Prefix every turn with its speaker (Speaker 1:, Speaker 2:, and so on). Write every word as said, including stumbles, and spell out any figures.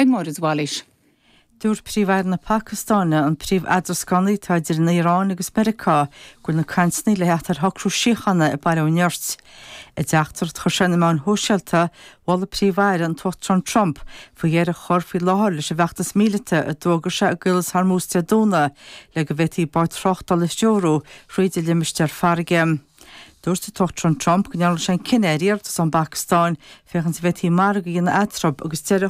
Speaker 1: ag Máire Zwalis.
Speaker 2: Dúirt Príomh-Aire na Pacastáine an príomh-eadrascánaí atá idir an Iaráin agus Meiriceá go bhfuil na cainteanna le theacht ar shocrú síochána ag baile ó nirt. I dteachtaireacht a chuir sé ar na meáin shóisialta mhol an Príomh-Aire an tUachtarán Trump faoi dheireadh a chur faoi láthair leis an bhfeachtas míleata a d'fhógair sé i gCaolas Hormuz Dé Domhnaigh le go bhféadfaí báid tráchtála a threorú thríd an limistéar farraige. Dúirt an tUachtarán Trump go ndearna sé an cinneadh ar iarratas ón bPacastáin féachaint an bhféadfaí margadh a dhéanamh eatarthu agus deireadh